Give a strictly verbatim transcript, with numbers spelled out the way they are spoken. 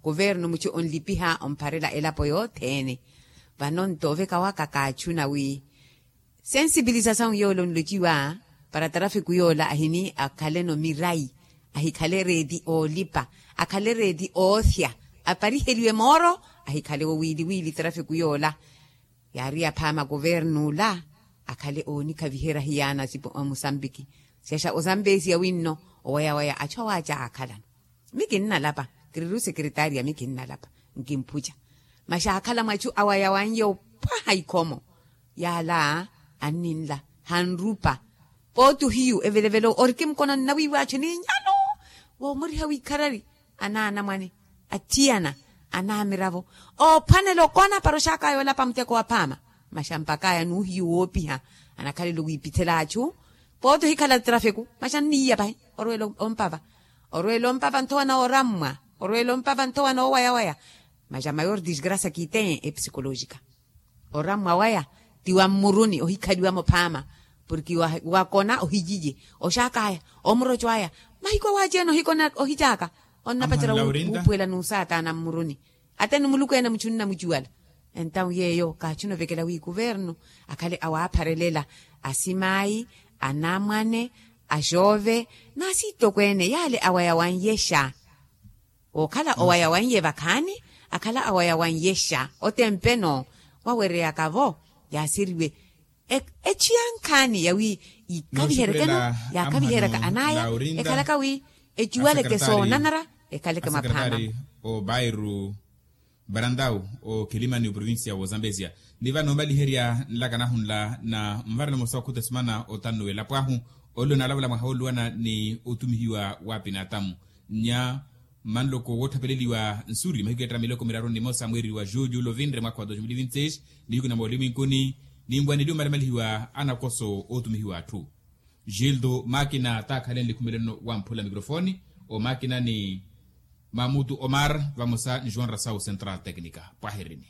kuvernu muchu onlipiha ompharela elapo yothene. Vano nto oveka waka kaachuna wi sensipilisasau yoola onlociwa para tarafiku yoola ahini akhaleno mirayi, ahikhale reeti oolipa, akhale reeti oothya, apariheliwe mooro, ahikhale wowiiliwiili tarafiku yoola. Yaari yaphaama kuvernu ola akhale oonikhaviherya hiyaana amusambiki. Syaxa ozambesiya winno owayawaya achu awaaca aakhalano. Mi kinnalapa, kiriru sekeretariya mi kinnalapa, nkimphuca. Masi aakhala mwachu awayawanye opwaha ikhomo. Yaala anninla, hanrupa. Pooti ohiyu evelevelo orikimukona nnawiiwaachu ninyano. Woomoriha wiikharari, anaanamwane, athiyana, anaamiravo, oophwanela okona para oxakaya olapa muteko wa phaama. Masi ampakaya n'uhiyu woopiha, anakhalelo wiipithela achu. Pooti ohikhala trafiku masi anniiya pahi, orwela ompava. Orwela ompava nthowa na orammwa, orwela ompava nthowa na owayawaya. Masi a mayor disgrasia kiiteye epsikolojika. Orammwa waya ti wa mmuruni ohikhaliwamo phaama, porke wakona ohiyiye, oxakaya, omuroco aya, mahiko awaci ene ohikona ohicaaka. Onnapacera wuupuwela n'usaatana mmuruni. Ate ni muluku ene muchu nnamucuwala. Entawu yeeyo kaachuna ovekela wi kuvernu akhale awaapharelela, asimayi, anamwane, axoove, n'asitokweene yaale awaya wanyexa. Wookhala owaya wanye vakhaani, akhala owaya wanyexa otempeno wawereyaka-vo. Yaaseriwe echiyankhaani yawi yiikaviheryakeno, yaakaviheryaka anaya. Ekhalaka wi ecuwaleke soonanara, ekhaleke mwaphama. Obairu barantau, okilimani oprovincia wozambesia. Ni vano omaliherya nlaka nahu nla na mvarela mosa okhuta esimana otannu welapo ahu, ollo naalavula mwaha wooluwana ni otumihiwa wa pinatamu. Nya mmanloko woottapeleliwa nsuri mahiku eetta miloko miraru ni mosa mweeri wa julho ovinre mwaka wa dos mil vinti seis, nihiku na mooliminkuni, ninwaneliwe omalimalihiwa anakoso ootumihiwa atthu. Gildo makina taakhalenle khumeleno wamphula mikrofoni, omakina ni mamutu omar vamosa ni joan rasau central tecnica. Pwahirini.